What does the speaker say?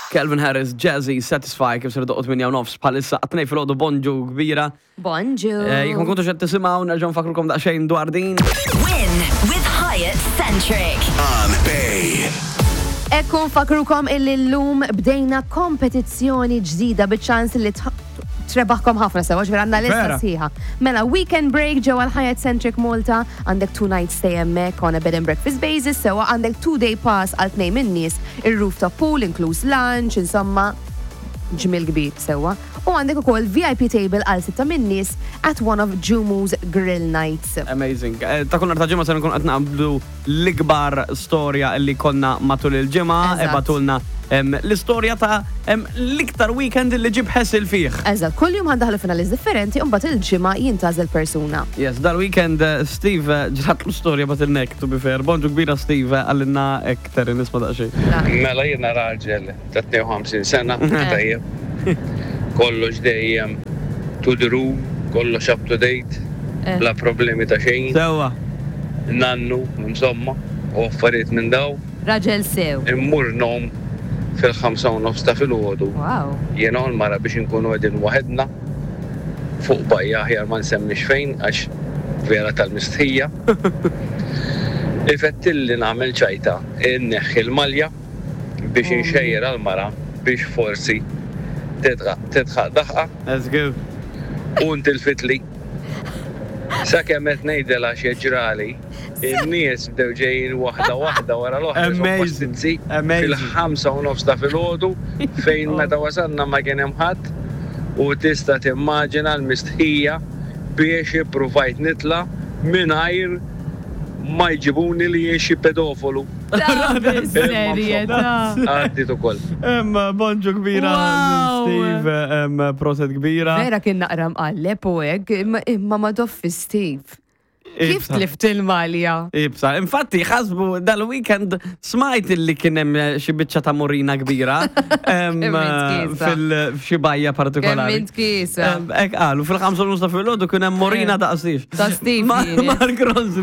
Calvin Harris, Jazzy, Satisfy, kif ser doqot minn nofs bħalissa għatnej fil-ħodu bonġu kbira. Bonġu. Eh, jekk ma kontux qed tisimgħu, nerġgħu nfakrukom daqsxejn dwar din. Win with Hyatt Centric. On Bay. Ekku nfakrukom illi l-lum bdejna kompetizzjoni ġdida biċ-ċans li trebaħkom ħafna sewa, ġifieri għandna lista Vera. sħiħa. Mela, weekend break ġewwa l-Hyatt Centric Malta, għandek two night stay hemmhekk on a bed and breakfast basis, sewa għandek two day pass għal tnejn minn nies, ir-rooftop pool, inkluż lunch, insomma, ġmil kbir sewa. U għandek ukoll VIP table għal sitta minn nies at one of Jumu's Grill Nights. Amazing. Eh, Ta' kull nhar ta' ġimgħa se nkun qed naqbdu l-ikbar storja li konna matul il-ġimgħa, Eżatt. ibagħtulna em, l-istorja ta' em, l-iktar weekend li ġib ħesil fih. Eżatt, kull jum ħa ndaħlu finalist differenti u mbagħad il-ġimgħa jintgħażel persuna. Yes, dal-weekend eh, Steve eh, ġratlu storja bagħtilna to be fair. Bonġu kbira Steve eh, għallinna ektar nisma daqsxejn. Mela jiena raġel ta' 52 sena, tajjeb. Kollox dejjem to the room, kollox up to date, bla problemi ta' xejn. Sewa. Nannu, insomma, u affarijiet minn daw. Raġel sew. Immur nom fil-5 u nofs ta' filgħodu. Wow. Jiena u l-mara biex inkunu qegħdin waħedna fuq bajja aħjar ma nsemmix fejn għax vera tal-mistħija. Ifettilli nagħmel ċajta, inneħħi l-malja biex inxejjer għal-mara biex forsi tidħaq daħqa Let's go. u ntilfitli. Sakemm qed ngħidilha x'ġrali, in-nies bdew ġejjin waħda waħda wara l-oħra Amazing. pastizzi Amazing. fil-5:30 ta' filgħodu fejn meta wasalna ma kien hemm ħadd u tista' timmaġina l-mistħija biex ippruvajt nitla' mingħajr ma jġibuni li jien xi pedofolu. Bis-serjetà. Għaddit ukoll. Em, bonġu kbira Wow. Steve, em, proset kbira. Vera kien naqra mqalleb u hekk, imma ma doffi Steve. Kif Ibsa. tlift il-malja? Ibsa, infatti, ħasbu dal-weekend smajt illi kien hemm xi biċċa ta' morina kbira em, Kemm int kiesa. fil-xi bajja partikolari. Kemm int kiesa. Em, Ek qalu, fil-5 u nofs ta' filgħodu kien hemm morina daqsix. Ta' Steve kienet. Mark Ronson.